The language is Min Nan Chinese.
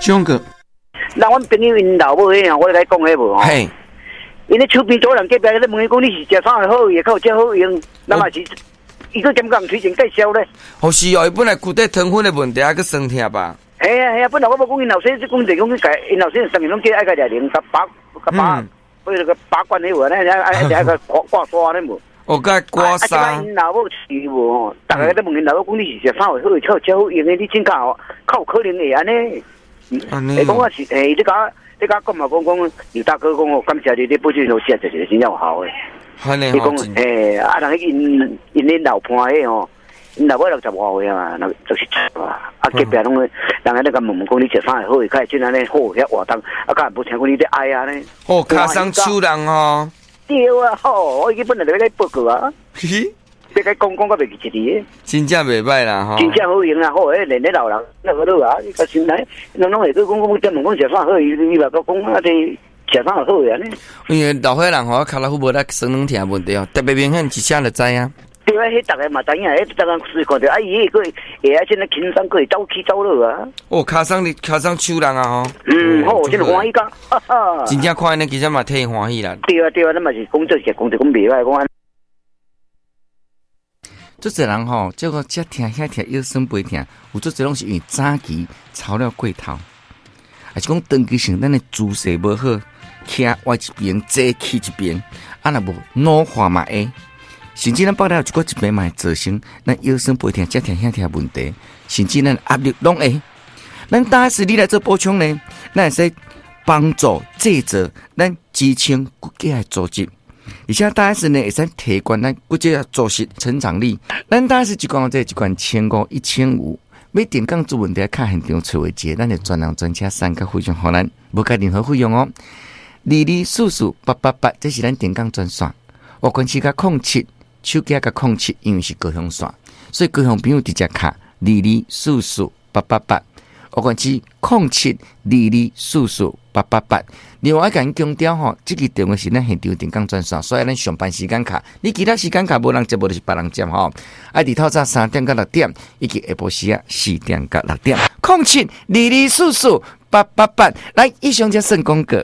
張哥，那阮朋友𪜶老母彼樣，我來講彼無吼。嘿，𪜶咧手邊主人隔壁咧問伊講，你是食啥會好，會較有遮好用？那嘛是，伊閣兼共推薦介紹咧。哦是哦，伊本來骨體糖分的問題，還閣酸痛吧？嘿啊嘿啊，本來我無講𪜶老師，講就講去共𪜶老師上面攏叫愛共掠零，共拔共拔，彼個拔罐彼無，咱愛愛愛共掛掛沙咧無？哦，佮刮痧。啊，這擺𪜶老母是無吼，逐个咧問𪜶老母講，你是食啥會好，較有遮好用的？你真較較有可能會按呢？會講我是，欸，你共我講嘛，講講劉大哥講哦，感謝你，你保健都食就是真正有效的。伊講，欸，啊，人𪜶𪜶𪜶老伴彼吼，𪜶老母六十外歲啊嘛，67啊，啊隔壁攏人咧共問問講你食啥會好，會較會這按呢好遐活動，啊，敢無聽講你咧愛按呢？哦，跤鬆手人吼。對啊，吼，我伊本來就欲共報告啊。欲共講講閣袂記一字。真正袂䆀啦吼。真正好用啊，好，彼連咧老人那個好啊，伊個先來，攏攏會閣講講，專門講食啥好，伊伊嘛閣講啊，這食啥好按呢。因為老歲人吼，跤蹠骨無力，酸軟疼問題哦，特別明顯，一聲就知影。對啊，彼逐个嘛知影，彼逐工隨看著啊，伊彼個會啊，這呢輕鬆，閣會走起走落啊。哦，跤鬆你跤鬆手人啊吼。嗯，好，真歡喜甲，哈哈。真正看按呢，其實嘛替歡喜啦。對啊對啊，咱嘛是講做是講就講袂歹，講按。足濟人吼，這個遮疼遐疼，腰酸背疼，有足濟攏是因為早期操了過頭，抑是講長期性咱的姿勢無好，徛歪一邊，坐去一邊，啊若無老化嘛會，甚至咱腹內有一寡疾病嘛會造成咱腰酸背疼、遮疼遐疼問題，甚至咱壓力攏會。咱大 S 你來做補充呢，咱會使幫助製造咱支撐骨骼的組織。而且大 S 呢，會使提懸咱骨節組織成長力。咱大 S 一罐這一罐千五一千五，欲定講出問題，較現場揣一個，咱的專人專車送較非常予咱，無加任何費用哦。2244888，這是咱定崗專線。外縣市佮空七，手機佮空七，因為是高雄線，所以高雄朋友直接敲二二四四八八八。外縣市空七二二四四八八八。另外，共𪜶強調吼，這支電話是咱現場定崗專線，所以咱上班時間敲，你其他時間敲無人接，無就是別人接吼。愛佇透早3點到6點，以及下晡時仔4點到6點，空七二二四四八八八。來，以上這算廣告。